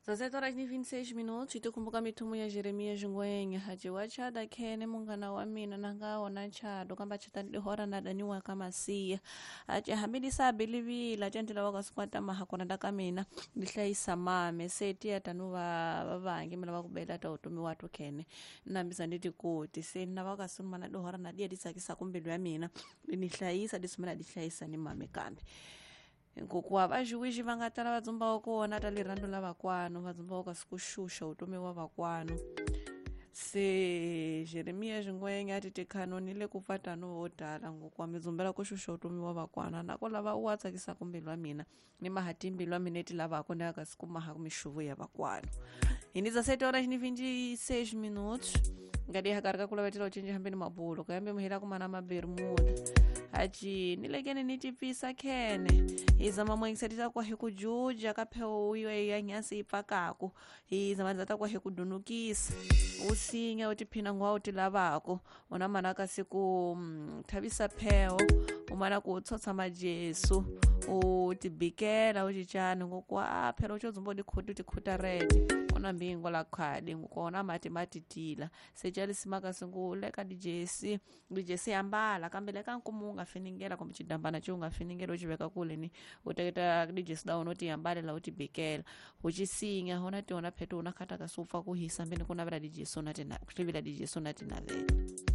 17 horas ni 26 minutos tikukumbuka mithumu ya Jeremias Ngwenya haji wa chada khene munghana wa mina na nga wona chado kamba chata dihora na daniwa ka masiya ache hambi sabilivila chandila wa kasikwata mahakona da ka mina ndi hlayisa mame se tiya tanu va vavangi mina va ku bela ta utomi wa tu khene nambisa ndi tikoti se na va kasumana na dihora na diya di tsakisa kumbilu ya mina di ni hlayisa di sumela di hlayisa ni mame kambe nkokuwa vaxiwixi va nga tala va dzumba wa kona ta rirhandzu la vakwanu va dzumba wa kasi ku xuxa vutomi wa vakwanu se Jeremiya Xingwenya a ti tikhanoni le ku pfa tano vo tala ngokuwa mi dzumbela ku xuxa vutomi wa vakwana na ko lava u wa tsakisaka mbilu wa mina ni maha timbilu wa mina ti lavaka ni kasi ku maha mixuvo ya vakwanu hi ni 17 horas ni 26 minutos ngadi hakari ka ku lavetela u cinca hambi ni mabulo kayambe muhela kumana mabermuda haci ni lekene ni tipisa khene hi zama muengisetisa kwa hi ku juja ka phewu yo ya nyasi yi pfakaku hi zama ta kwa hi ku dunukisa u sinya u tiphina ngwa u ti lavako u na mana kasi ku thavisa pheho u mana ku tshotsa majesu u tibikela u cicani ngokuwa a phela u xo dzumba u tikhuti u tikhutarete u na mbingo la khadi ngokona mati matitila se calisimaka singu leka dijesi dijesi ambala kambe leka nkumu u nga finingela kumbe xidambana xi u nga finingela u xi veka kule ni u teketa dijesi da wena u ti ambalela u ti bikela u ci sinya u na tiona pheto u na khata kasi u pfa ku hisa mbeni ku navela dijesi u na ku tivila dijesi u na ti navela.